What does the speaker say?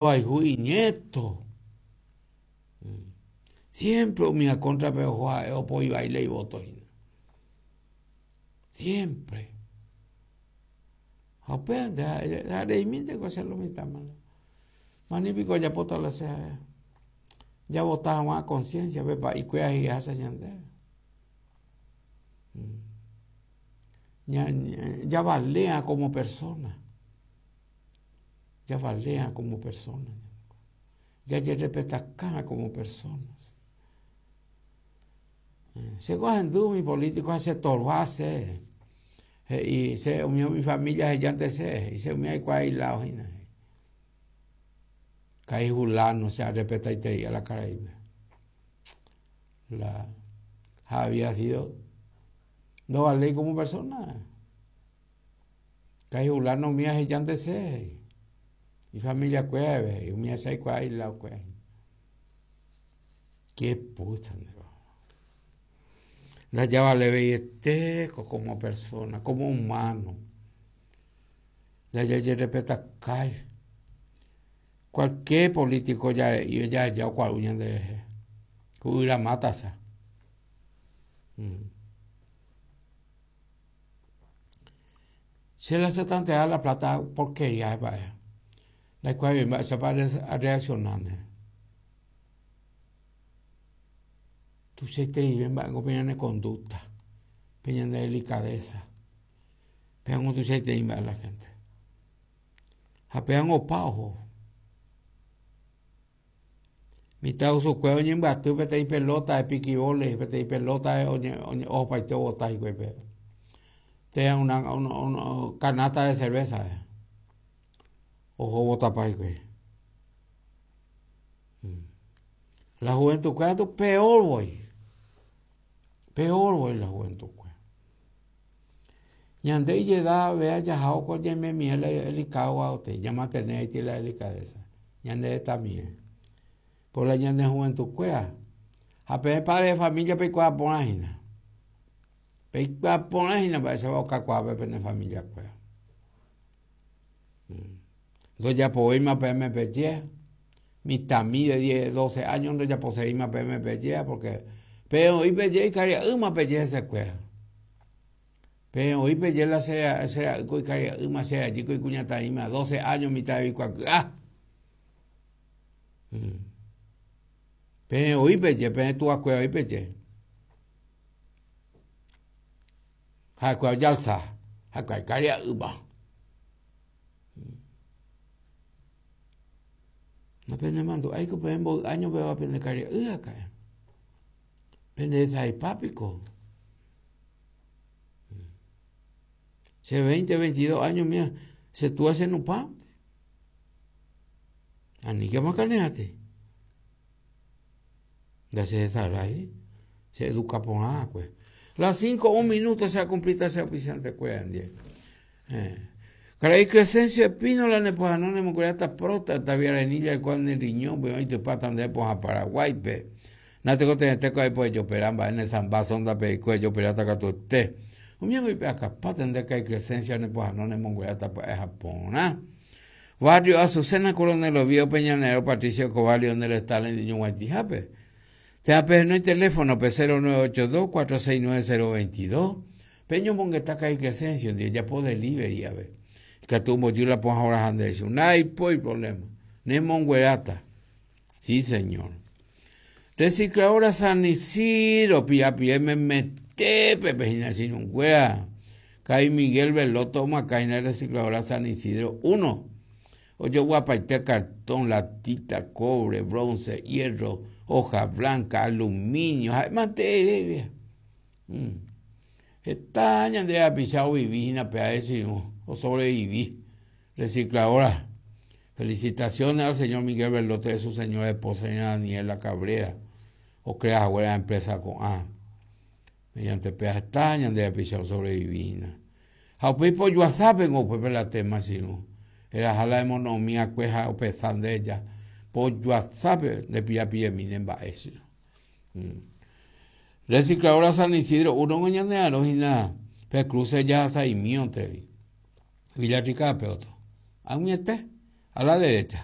Ohayhu iñéto. Siémpre umíva kóntrape oho ha'e opoi vai la ivóto hína. Siémpre. Ha upévante ha'e ha reimínte ko che lo mitãme. Mani piko ojapóta la che ha'e. Javota hag̃ua conciencia-pe pa'ikuéra he'iháicha ñandéve. Javalea como persona. Javalea como persona. Jajerrespetakáva como personas. Chéko ahendu umi político ha chetorva che. He'i che umi umi familia hejánte che, he'i che umi aikuaa iláo hína. Ka'i hulano che arrespetaiterei la karaípe. La ha había sido ndovaléi como persona. Ka'i hulano umi ahejánte che, he'i. Ifamiliakuéra he'i, umi che aikuaa ilaokuéra. Qué pucha nde Ndajavaleveiete como persona, como humano. Ndajajerrespetakái. Cualquier político jare'i jaheja okuaru ñanderehe. Ku yvyra mátasa. Che la chetanteáva la plata porkería mba'e. Ndaikuaavéi mba'éichapa arreaccionáne. Tuichaitereive mba'éngo pe ñane conducta, pe ñande delicadeza. Pévango tuichaiterei mba'e la gente. Ha pévango opa oho. Mitãrusukuéra oñembyaty peteĩ pelóta de pikivóle, peteĩ pelóta ohopaite ovota hikuái péva. Térã una canasta de cerveza oho ovotapa hikuái. La juventud-kuéra katu peor voi, peor voi la juventud-kuéra. Ñande ijeda vea jahao ko ñaimemie la delicado gua'ute, ñamantene haiti la delicadeza, ñande retãmie. Por la ñane juventud-kuéra ha peẽ padre de familia peikuaa porã hína. Peikuaa porã hína mba'éichapa okakuaa pe pene familia-kuéra. Ndojapovéima peẽme peje, mitãmi de diez, doce años ndojaposevéima peẽme peje, porque peẽ oĩ peje ikaria'ýma peje hesekuéra. Peẽ oĩ peje la che, che ra'ýko ikaria'ýma, che rajýko ikuñataĩma, doce años mitã oikuaky'a. Peẽ oĩ peje, peẽ tuakuéra oĩ peje. Ha'ekuéra ojalsa, ha'ekuéra ikaria'ýma. Napenemandu'áiko peẽ mboy áño peva pende karia'y aka'e. Pende resaipa piko. Che 20, 22 áño mía, che túa che nupã. Aníke amakaneate. Ndachehesaráiri, che eduka porã va'ekue. Las 5 un minuto che akumplíta che auspiciante-kuéra ndie. Eh. Karai Crescencio Espínola nepohano nemokueráta próstata, viarenilla oikóva ne riñónpe oitypáta nde pohã Paraguáipe. Natekotevẽtéko aipo ejopera mba'e ne samba sonda-pe eiko ejoperáta katuete. Umi ángo ipe'akapáta nde karai Crescencio nepohano nemongueráta pya'e ha porã. Barrio Azucena, Coronel Oviedo, pe ñane Patricio Escobar, Lionel Stalin ñoguaitĩhápe. Térã pehenói teléfono-pe 0982 469 022. Peñomongeta karai Crescencio ndive, ejapo delivery ave. Ikatu ombojy la pohã oraha ndéve chupe. Ndaipói problema. Nemongueráta. Sí, señor. Recicladora San Isidro, pirapire memetépe pe hína che irũnguéra. Karai Miguel Belotto omoakã hína Recicladora San Isidro 1. Ojoguapaite cartón, latita, cobre, bronce, hierro, hoja blanca, aluminio, ha'e mante ere. Mm. Heta ñande rapicha ovivi hína pe ae che irũ, osobrevivi. Recicladora. Felicitaciones al señor Miguel Bellote de su señora esposa señora Daniela Cabrera, ocrea haguére empresa ko'ã. Mediante péa heta ñande rapicha osobrevivi hína. Ha upéi pojoasápengo upépe la tema che irũ. Eraha la emono'õmi akue ha opesa nde ja. Pojoasápe nde pirapiremi ne mba'e che irũ. Mm. Recicladora San Isidro uno ngo ñane arõ hína pe cruce jahasa'imíontei. Villarrica-pe oto. Ag̃uiete, a la derecha.